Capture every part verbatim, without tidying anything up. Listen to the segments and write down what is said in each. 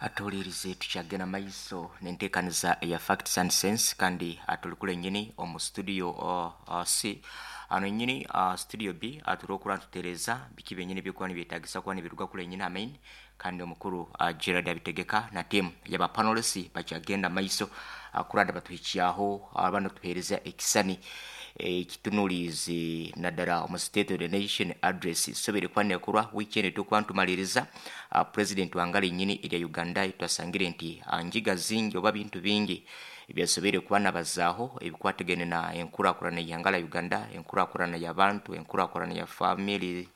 Atuwulirize, tukyagenda maiso nenteekaniza eya Facts and Sense, kandi tuli kule nyini omu studio uh, uh, C ano nyini uh, studio B. Turi okuba nitutereeza biki byenyini ebyokuba nibyetagisa kuba nibiruga kule nyini amain, kandi omukuru uh, Gerard abitegeka na team yaba panelists bakyagenda maiso uh, kurada batuhikyaho uh, bano tuheereza ekisani ekitunulizi naddala omu State of the Nation Address sobere kuba nekorwa weekend. Tukuba ntumaliriza uh, president wangala nyini erya Uganda. Twasangire nti uh, njiga zingi oba bintu bingi ebyasobere kuba nabazaaho ebikwatagene na enkurakurana y'ihanga la Uganda, enkurakurana y'abantu, enkurakurana ya family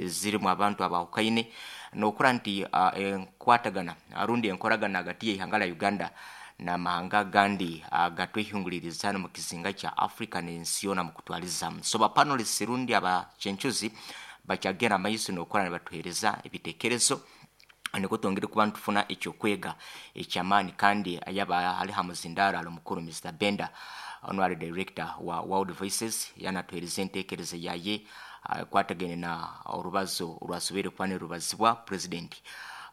zirimu abantu abahukaine, nokura nti uh, enkwatagana arundi enkoragana hagati y'ihanga la Uganda n'amahanga agandi agatwehinguliriza hano mu kizinga kya Africa n'ensi yoona mu kutwalizamu. So ba panelists rundi abachenchuzi bakyagenda maiso n'okukora nibatuheereza ebitekerezo, niko twongere kuba nitufuna ekyokwega ekyamaani. Kandi ayaba ali ha muzindaro ali omukuru Mister Benda, ono ali director wa World Voices, yanatuheereza enteekereza yaye ekwatagene na orubazo orwasoboire kuba nirubazibwa president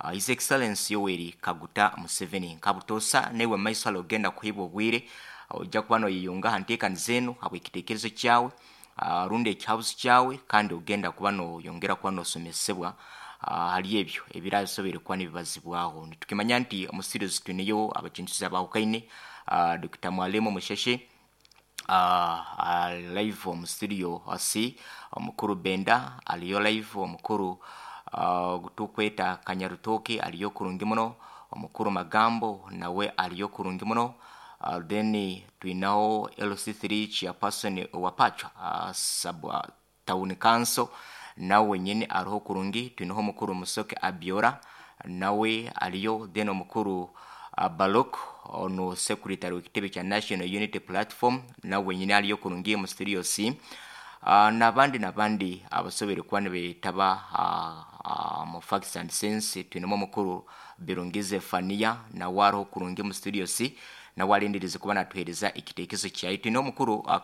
uh, His Excellency Yoweri Kaguta Museveni. Nkabutoosa newe maiso alo ogenda kuhibwa obwire, ojja kuba noyeyunga ha nteekaniza enu habw'ekiteekerezo kyawe uh, rundi ekihabuzi kyawe, kandi ogenda kuba noyongera kuba nosomesebwa uh, hali ebyo ebirasobere kuba nibibazibwaho. Nitukimanya nti omu studios twineyo abakintuzi abahukaine, uh, Doctor Mwalimu Musheshe uh, uh, live omu studio C, omukuru Benda aliyo live, omukuru uh, tukweta Kanyarutoke aliyo kurungi muno, omukuru Magambo nawe aliyo kurungi muno. uh, then twinaho L C three chairperson wa Pachwa uh, sub uh, town council, nawe wenyini ariho kurungi. Twinaho omukuru Musoke Abiora, nawe aliyo. Then omukuru uh, Balok, ono secretary w'ekitebe kya National Unity Platform, nawe wenyini aliyo kurungi mu studio C, uh, nabandi nabandi abasobere kuba nibetaba uh, uh, mu Facts and Sense. Twinemu omukuru Birungize Fania, nawe ariho kurungi mu studio C, nawe alindirize kuba natuhereza ekitekerezo kyaye. Twine omukuru uh,